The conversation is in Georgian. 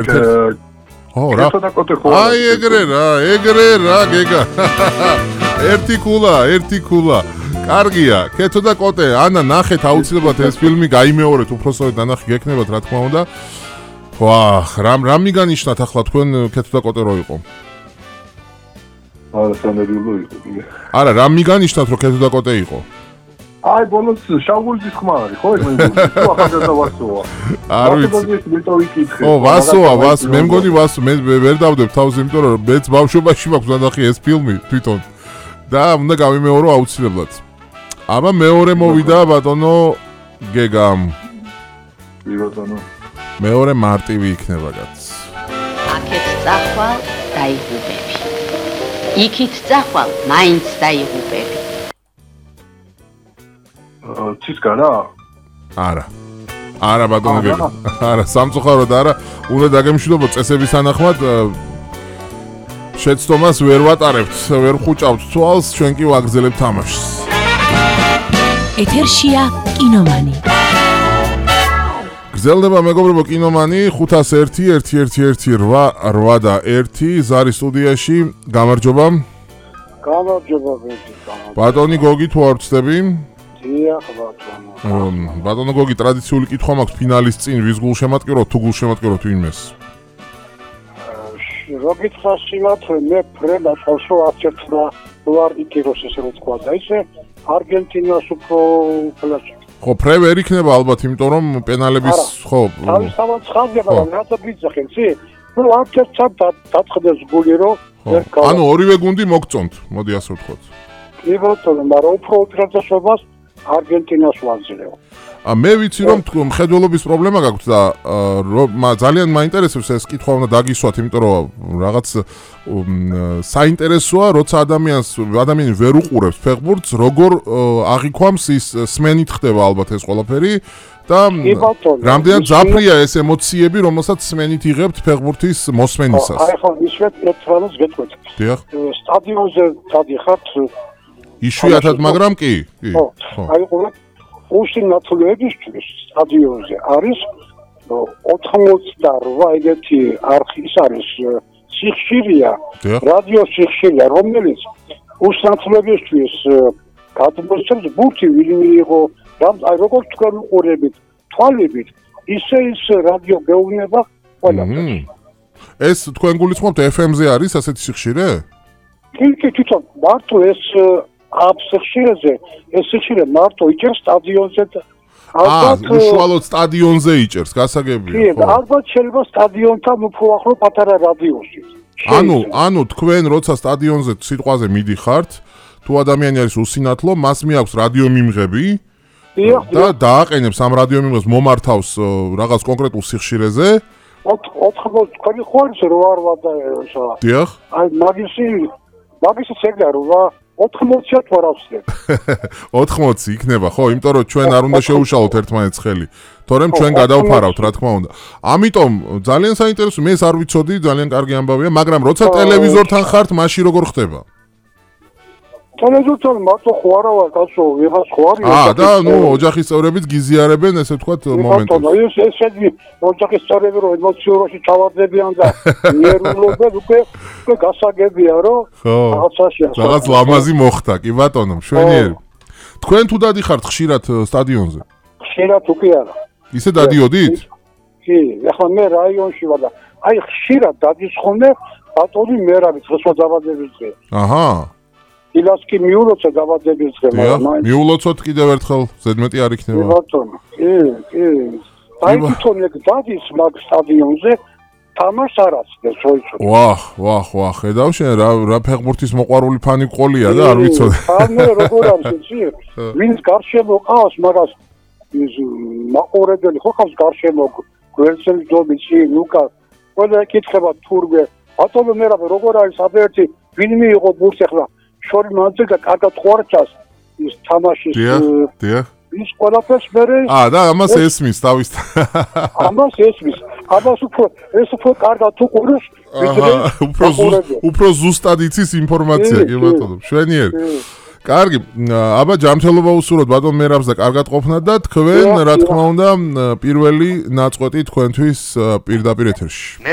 რა. აი ეგრე რა გეგა. ერთი ქულა. კარგია, კეთო და კოტე, ანა ნახეთ აუცილებლად ეს ფილმი გაიმეორეთ, უბრალოდ დანახი გექნებათ რა თქმა უნდა. ვაჰ, რამ მიგანიშნათ ახლა თქვენ კეთო და კოტე რო იყო? არა, სანერვიულო იყო. არა, რამ მიგანიშნათ რომ კეთო და კოტე იყო? აი, ბოლოს შავგულის ხმა არის, ხო? ეს მე ახალგაზრდა ვასოა. არ ვიცი. მეტო ვიკითხე. ო, ვასოა, მე მგონი ვასო, მე ვერ დავდებ თავს, იმიტომ რომ მეც ბავშვობაში მაქვს ნახე ეს ფილმი თვითონ. და უნდა გავიმეორო აუცილებლად. აბა მეორე მოვიდა ბატონო გეგამ. ბატონო. მეორე მარტივი იქნება კაც. აქეთ წახვალ დაიღუპები. იქით წახვალ მაინც დაიღუპები. ცისკარა? არა ბატონო გეგა. არა, სამწუხაროდ არა. უნდა დაგემშვიდობო წესების თანახმად შეცდომას ვერ ვატარებთ, ვერ ხუჭავთ თვალს, ჩვენ კი ვაგრძელებთ თამაშს. ეთერშია კინომანი. გრძელდება მეგობრებო კინომანი 501-111-8 და 1 ზარი სტუდიაში. გამარჯობა. გამარჯობა. ბატონი გოგი თუ არ ვწდები? დიახ ბატონო. ბატონო გოგი ტრადიციული კითხვა მაქვს ფინალის წინ ვის გულშემატკივროთ თუ გულშემატკივროთ ვინმეს? როგიცა სიმართლე მე ფრენა ხალხო აღწერა ვარ იქიროს ესე რომ თქვა და ისე არგენტინას უფრო ფლაში. ხო, ფრე ვერ იქნება ალბათ, იმიტომ რომ პენალების ხო. თავისთავად ხაზდება, რაცა გიძახენ, იცი? ნუ აღწერა დაწყდეს გული რომ ანუ ორივე გუნდი მოგწონთ, მოდი ასე ვთქვათ. კი ბატონო, მაგრამ უფრო უპირატესობას არგენტინას ვაძლევ. მე ვიცი რომ მხედველობის პრობლემა გაქვთ და ძალიან მაინტერესებს ეს კითხვა უნდა დაგისვათ, იმიტომ რომ რაღაც საინტერესოა, როცა ადამიანი ვერ უყურებს ფეხბურთს, როგორ აღიქვამს ის სმენით ხდება ალბათ ეს ყველაფერი და რამდენად ძაფრია ეს ემოციები, რომელსაც სმენით იღებთ ფეხბურთის მოსმენისას. აი ხო, ისეთ ერთმანეთს გეტყვით. დიახ. სტადიონზე დადიხართ. იშვიათად, მაგრამ კი. ხო. აი ყურე უსინათლოებისთვის სტადიონზე არის 88 ეგეთი არხის არის სიხშირია, რადიო სიხშირია, რომელიც უსინათლოებისთვის გადმოსცემს ბურთი ვინმე იყო, აი როგორც თქვენ უყურებით, თვალებით, ისე ის რადიო გეუბნება ყველაფერს. ეს თქვენ გულისხმობთ FM-ზე არის ასეთი სიხშირე? კი, თვითონ მარტო ეს აბსეხშირეზე ეს სიხშირე მარტო იჭერს სტადიონზე ალბათ უშუალოდ სტადიონზე იჭერს გასაგებია ხო კი ალბათ შეიძლება სტადიონთან უფრო ახლო პატარა რადიუსი ანუ თქვენ როცა სტადიონზე სიტყვაზე მიდიხართ თუ ადამიანი არის უსინათლო მას მიაქვს რადიო მიმღები და დააყენებს ამ რადიო მიმღებს მომართავს რაღაც კონკრეტულ სიხშირეზე 80 თქვენი ხوارს რო არ ვადაეშა დიახ აი მაგისი შეგდა რა 80-ად ვარავსდებ. 80 იქნება, ხო, იმიტომ რომ ჩვენ არ უნდა შევუშალოთ ერთმანეთს ხელი. თორემ ჩვენ გადავფარავთ, რა თქმა უნდა. ამიტომ ძალიან საინტერესო, მე ეს არ ვიცოდი, ძალიან კარგი ამბავია, მაგრამ როცა ტელევიზორთან ხართ, მაშინ როგორ ხდება? ტელევიზორთან მარტო ხო არა ვარ, კაცო, ვიღაც ხო არის. და ნუ ოჯახის წევრებიც გიზიარებენ, ესე ვთქვათ, მომენტებს. ეს შედი ოჯახის წევრები რომ ემოციურში ჩავარდებიან და ნერვულობენ, უკვე გასაგებია, რომ რაღაცაში ასე. რაღაც ლამაზი მოხდა, კი ბატონო, მშვენიერი. თქვენ თუ დადიხართ ხშირად სტადიონზე? ხშირად უკვე არა. ისე დადიოდით? კი, ახლა მე რაიონში ვარ და აი ხშირად დადის ხოლმე ბატონი მე რა ვიცი, ხო დაბადების დღე. აჰა. ილას კი მიულოცა დაბადების დღე, მაგრამ მიულოცოთ კიდევ ერთხელ, ზედმეტი არ იქნება. ბატონო, კი. აი თვითონ ეგ დადის მაგ სტადიონზე თამაშს არ აცდებს, ხო იცოდი. ვაჰ, ხედავ შენ რა ფეხბურთის მოყვარული ფანი ყოლია და არ ვიცოდი. ანუ როგორ არის იცი? ვინც გარშემო ყავს, მაგას ის მაყურებელი ხო ყავს გარშემო გვერდსელი დობიცი, ლუკა. ყველა ეკითხება თურმე. ბატონო მე როგორ არის აბერტი, ვინმე იყო ბურთი ახლა შორი მანძილდა კარგად ხვარჩას ის თამაშის დიახ ის ყველაფერს მერე და ამას ესმის თავის ამას უფრო კარგად უყურებს უფრო ზუსტად იცის ინფორმაცია კი ბატონო მშვენიერი კარგი, აბა ჯანმრთელობა უსურვოთ ბატონ მერაბს და კარგად ყოფნა და თქვენ რა თქმა უნდა პირველი ნაწყვეტი თქვენთვის პირდაპირ ეთერში.